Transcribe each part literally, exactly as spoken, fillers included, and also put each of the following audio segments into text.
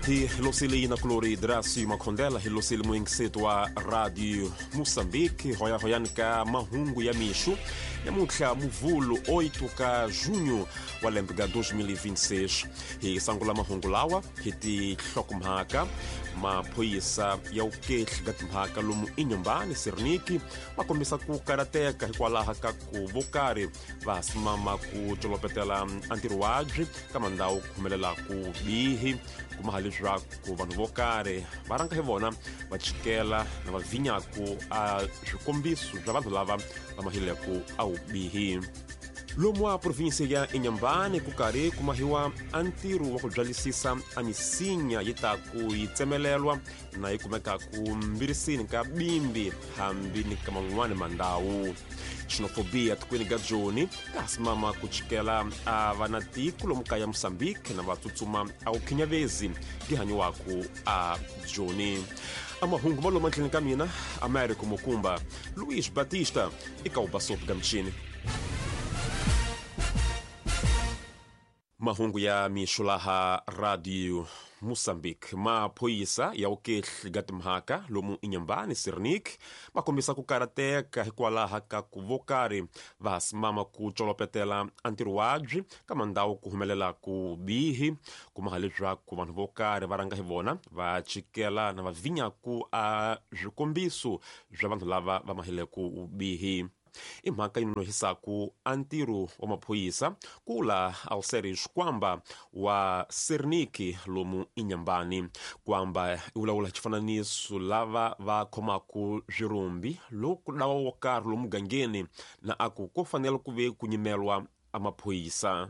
Hi losili na kulori Dracio Makondela hi losili muingiseto wa Radio Moçambique hoya hoyani ka mahungu ya mixo namuntlha Muvhulu oito ka junho wa lembe ga dois mil e vinte e seis. Hi sangula mahungu lawa hi tihlokomhaka maphorisa ya ukehli ga timhaka lomu Inhambane Serniki ma kombisa ku karateka hikwalaho ka ku vo karhi va simama ku colopetela antirwabyi ka mandhawu ku humelela ku bihi kuma leswaku vanhu vo karhi va rhanga hi vona va chikela na va vhinyaku a swikombiso bya vanhu lava va mahileku a wubihi. Lomu a província ya Inhambane ku karhi ku mahiwa a ntirho wa ku byalisisa a misinya yi ta ku yi tsemelelwa na yi kumeka ku mbirisini ka bimbi hambi ni ka man'wani mandhawu. Xenofobia tikweni ga Joni ka simama ku chikela a vana tiko lomu kaya Moçambique na va tsutsuma a wu khinyavezi gihanyiwaku a Joni. A mahungu ma lomu endleni ka mina Américo Mukumba Luiz Batista eka Ubasopo ga Mchini. Mahungu ya mixo laha Radio Moçambique. Maphorisa ya ukehli ga timhaka lomu Inhambane Serniki ma kombisa ku karateka hikwalaho ka ku vo karhi va simama ku colopetela antirwabyi ka mandhawu ku humelela ku bihi kuma leswaku vanhu vo karhi va rhanga hi vona va chikela na va vhinyaku a swikombiso bya vanhu lava va mahileku bihi. I mhaka yi nonohisaku a ntirho wa maphorisa kula Alceres Kwamba wa Serniki lomu Inhambane. Kwamba i vulavula xifananiso lava va khomaku swirumbi loko dawa wo karhi lomu mugangeni na aku ko fanele ku ve ku nyimelwa a maphorisa.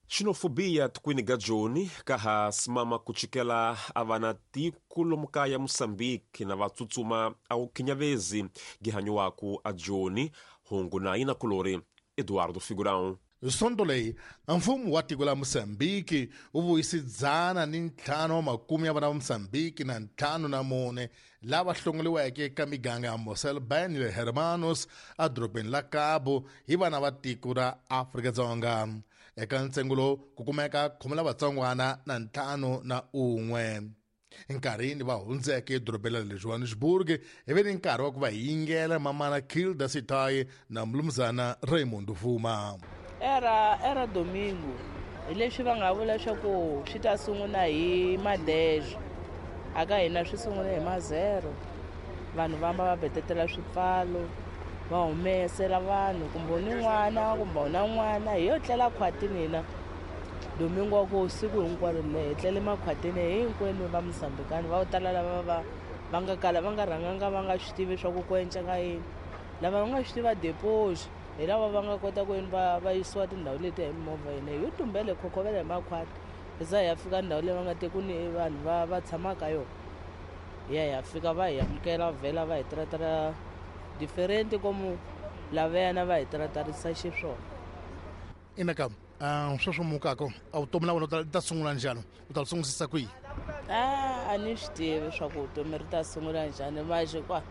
Xenofobia tikweni ga Joni ka ha simama ku chikela a vana tiko lomu kaya Moçambique na va tsutsuma a wu khinyavezi gihanyiwaku a Joni. Hungu na yina kulori Eduardo Figurão. Sonto leyi mfumo wa tiko la Moçambique wu vuyise dzana ni ntlhanu wa makume ya vana va Moçambique na ntlhanu na mune lava hlongoliweke eka miganga ya Mossel Bay ni le Hermanus edorobeni la Cabo hi vana va tiko ra Afrika-Dzonga. Eka ntsengo lowu ku kumeka khume la vatsongwana na ntlhanu na un'we. Enkarhini va hundzeke edorobeni ra le Johannesburg hi ve ni nkarhi wa ku va yingela mamana Kilda Sitayi na mulumuzana Raymond Vuma. Era era domingo hi leswi va nga vula leswaku swi ta sungula hi madejo aka hina swi sungule hi mazero. Vanhu vamba va betetela swipfalo va humesela vanhu kumbe ni n'wana kumbe na n'wana hi yo tlela khwatini hina domingo wa ku siku hinkwaro le hi tlele makhwatini hinkwenu va Mozambikani va tala lava va va nga kala va nga rhanganga va nga swi tivi swa ku ku enceka yini lava va nga swi tiva deposit hi lava va nga kota ku yini va va yisiwa tindhawu leti hi mimovha hina hi yo tumbele khokhovela hi makhwati hi za hi ya fika ndhawu leyi va nga te ku ni vanhu va va tshamaka yona hi ya hi ya fika va hi amukela vhela va hi tiratara diferente como lavayana va hi tiratarisa xiswona. Inaka sweswo mukako a vutomi la wena u ta sungula njhani u ta sungurisisa kwihi? A a ni swi tivi swa ku vutomi ri ta sungula njhani maje kwa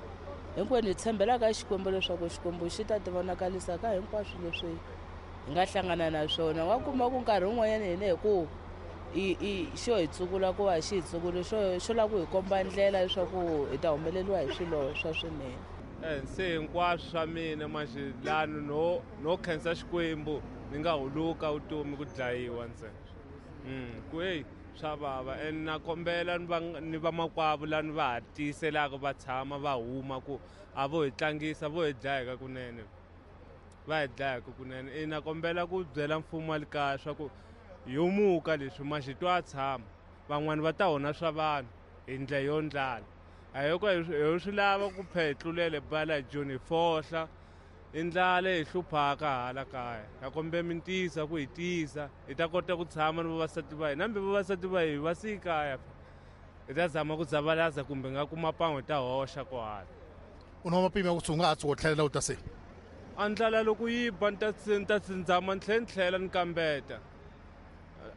hinkwenu hi tshembela ka Xikwembu leswaku Xikwembu xi ta ti vonakalisa ka hinkwaswo leswi hi nga hlangana na swona. Wa kuma ku nkarhi wun'wanyana hina hi ku i i xo hi tsukula ku va xi hi tsukuli xo xo lava ku hi komba ndlela leswaku hi ta humeleriwa hi swilo swa swinene. Se hinkwaswo swa mina manje lani no no khensa Xikwembu ni nga huluka vutomi ku dlayiwa ntsena. Mm ku hey swa vava and na kombela ni va ni vamakwavo lani va ha tiyiselaka va tshama va huma ku a vo hi tlangisa vo hi dlayeka kunene va hi dlayeka kunene. I na kombela ku byela mfumo wa le kaya swa ku yo muka leswi manje twa tshama van'wani va ta onha swa vanhu hi ndlela yo ndlala a hi ko hi swi lava ku phe tlulele bala Joni fohla i ndlala hi hluphaka hala kaya ha kombe mi tiyisa ku hi tiyisa hi ta kota ku tshama ni vavasati va hina hambi vavasati va hi va siyi kaya hi ta zama ku dzavalaza kumbe nga kuma pan'we hi ta hoxa kohala. U na mapimo ya ku u nga ha tshuka u tlhelela u ta se a ndlala loko yi ba ni ta ni ta zama ni tlhela ni tlhela ni kambeta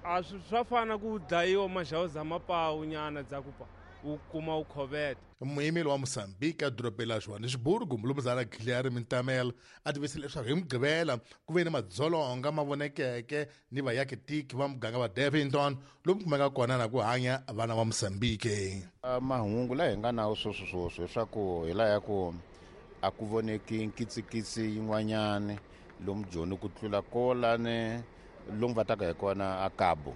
a swa fana ku dlayiwa maxawu zama pawu nyana dza ku pa wu kuma wu khoveta. Muyimeli wa Mozambique edorobeni la Johannesburg, Mulumuzana Guilherme Ntamela, a tivise leswaku hi Mugqivela ku ve ni madzolonga ma vonekeke ni vayakitiki va muganga wa Davington lomu kumeka kona na ku hanya vana va Mozambique. Mahungu laha hi nga nawo sweswi sweswi leswaku hi laha ya ku a ku voneki nkitsikitsi yin'wanyani lomu Joni ku tlula kolani lomu va taka hi kona a Cabo.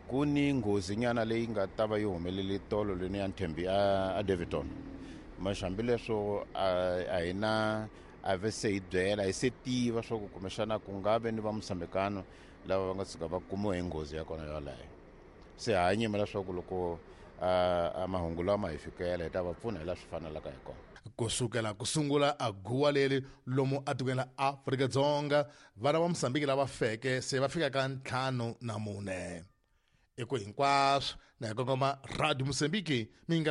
Ku ni nghozi nyana leyi nga ta va yi humelele tolo leni ya Nthembi a, a Daveyton. Mas hambileswo a hi na a ve se hi byela hi se tiva swa ku kumbexana ku nga ve ni va Mosambikano lava va nga tshuka va kumiwe hi nghozi ya kona yaleyo. Se ha nyima leswaku loko a mahungu lama hi fikela hi ta va pfuna hi laha swi fanelaka hi kona. Kusukela ku sungula a guwa leri lomu atikweni la Afrika-Dzonga, vana va Mozambique lava feke se va fika ka ntlhanu na mune. Eko hinkwaswo na hi kongoma Radio Mozambique, mi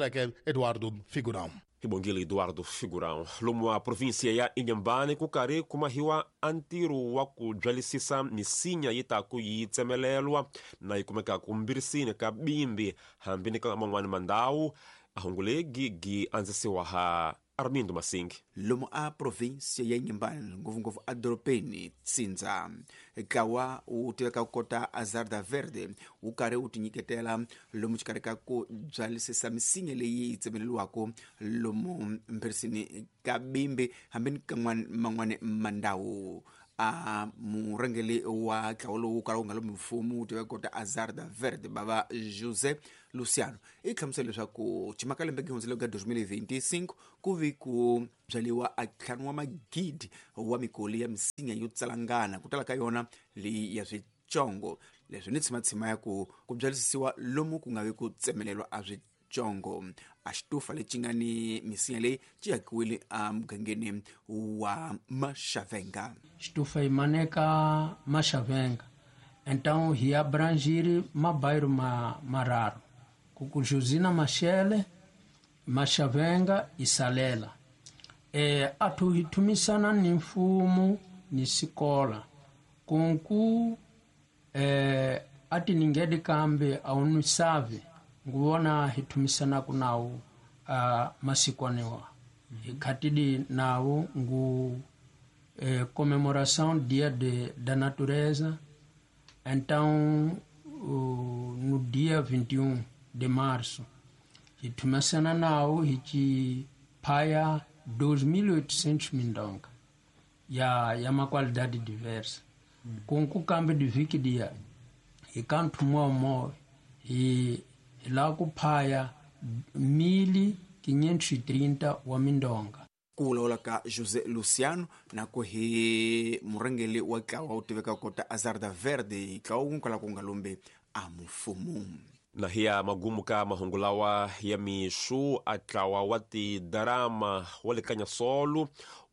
Eduardo Figurão. Hi bongile Eduardo Figurão. Lomu wa província ya Inhambane ku karhi ku mahiwa a ntirho wa ku byalisisa misinya yi ta ku yi tsemelelwa na yi kumeka ku mbirisini ka bimbi hambi ni ka man'wani mandhawu. A hungu legi gi andzisiwa ha Armindo Masingi. Lomu a província ya Inhambane, ngopfungopfu edorobeni Tsinza, ntlawa wu tiveka ku kota Azarda Verde wu karhi wu tinyiketela lomu xikarhi ka ku byalisisa misinya leyi yi tsemeleriwaka lomu mbirisini ka bimbi hambi ni ka man'wani mandhawu. A murhangeri wa ntlawa lowu kala wu nga lomu mfumo wu tiveka kota Azarda Verde bava José Luciano i hlamusela leswaku chimaka lembe gihundzile ka twenty twenty-five ku vi ku byaliwa a ntlhanu wa magidi wa mikoli ya misinya yo tsalangana ku tala ka yona leyi ya switsongo. Leswi ni tshimatshima ya ku ku byalisisiwa lomu ku nga vi ku tsemelelwa a switsongo. A xitufa lexi nga ni misinya leyi xi hakiwile emugangeni wa Maxavenga. Xitufa yi maneka Maxavenga, então hi abrangir mabairro ma, mararo ku Josina Machele, Maxavenga e Salela. E, atu hi thumisana ni mfumo ni sikola kunku e, ati ningedi kambe aunisave nguvona hi thumisana ku nawu uh, masikwaniwa hi khatidi nawu ngu eh, comemoração dia de, da natureza. Então uh, no dia vinte e um de março hi thumisana nawu hi ci phaya dois mil e oitocentos mindonga ya, ya ma qualidade diversa. mm. Kunku kambe de viki dia hi ka nthumuwa moya hi la ku phaya mil quinhentos e trinta wa mindonga. Ku vulavula ka José Luciano na ku hi murhangeri wa ntlawa wu tiveka kota Azarda Verde, ntlawa wu kwala ku nga lombe a mfumo. Na hiya magumu ka mahungu lawa ya mixu a ntlawa wa tidarama wa le Kanyasolo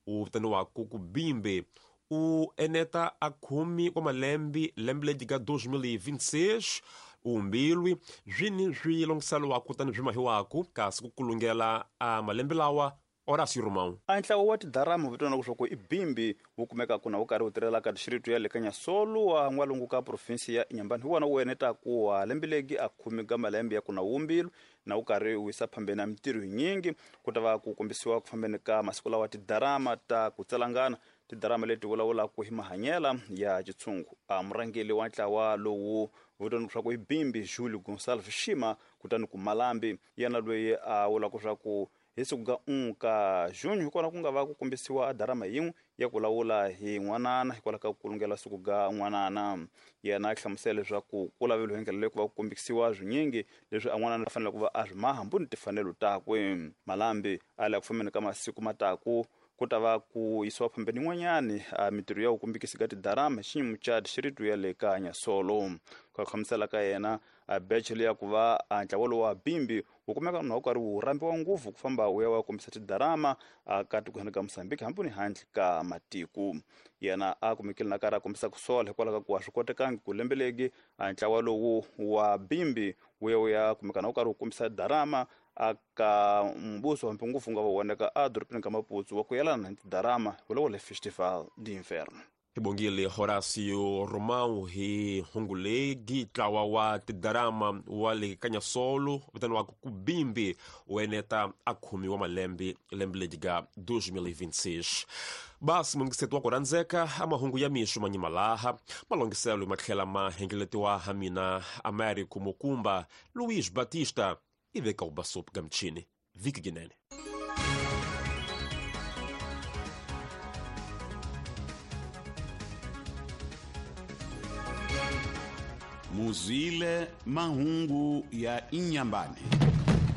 u vitaniwaku ku Bimbe u eneta a khume wa malembe lembe leri ka dois mil e vinte e seis umbilwi swini swi longiseliwaku tani swi mahiwaku kasi ku kulungela a malembe lawa Horácio Romão. A ntlawa wa tidarama vitana leswaku i Bimbi wu kumeka na wu karhi wu tirhela ka dixiritu ya le Kanyasolo wa n'walungu ka provinsi ya Inhambane. Hi wona wu enetaku wa lembe legi a khume ka malembe ya ku na wumbilu na wu karhi wu yisa phambeni na mintirho yinyingi ku ta va ku kombisiwa ku fambeni ka masiku lawa tidarama ta ku tsalangana tidarama leti vulavulaka hi mahanyela ya xitshungu. A murhangeri wa ntlawa lowu vitana leswaku i Bimbi Julio Gonçalves Shima kutani ku Malambi yena loyi a vulaka leswaku hi siku ka un'we ka junho hi kona ku nga va ku kombisiwa darama yin'we ya ku lawula hi n'wanana hikwalaho ka ku kulungela siku ga n'wanana. Yena a hlamusela leswaku ku laveliwe hi ndlela leyi ku va ku kombisiwa swinyingi leswi a n'wanana a fanele ku va a swi maha mbuni timfanelo takwe. Malambi a la ku fambeni ka masiku mataku ku ta va ku yisiwa phambeni yin'wanyani a mintirho ya ku kombekisa ka tidarama xiyimo xa dixiritu ya le Kanyasolo. Ku hlamusela ka yena a beche leya ku va a ntlawa lowu wa Bimbi wu kumeka na wu karhi wu rhambiwa ngopfu ku famba wu ya wa kombisa tidarama ka tikweni ka Mozambique hambi ni handle ka matiko. Yena a kumekile na karhi a kombisa ku sola hikwalaho ka ku a swi kotekangi ku lembeleki a ntlawa lowu wa Bimbi wu ya wu ya kumeka na wu karhi wu kombisa darama aka mbuso hambi ngopfu nga va voneka a dorobeni ka Maputo wa ku yelana na tidarama vulavula Festival d'Inverno. Hi bongile Horacio Romão hi hungulegi ntlawa wa tidarama wa le Kanyasolo vitaniwaka Kubimbi wu eneta a khumiwa malembe lembe leri ga dois mil e vinte e seis. Basi mungiseto wa ku rhandzeka a mahungu ya mixo manyimalaha malongiselo ma tlhela ma hengeletiwa ha mina Américo Mukumba Luiz Batista i veka u basop gamchini vhiki ginene. Muzwile mahungu ya Inhambane.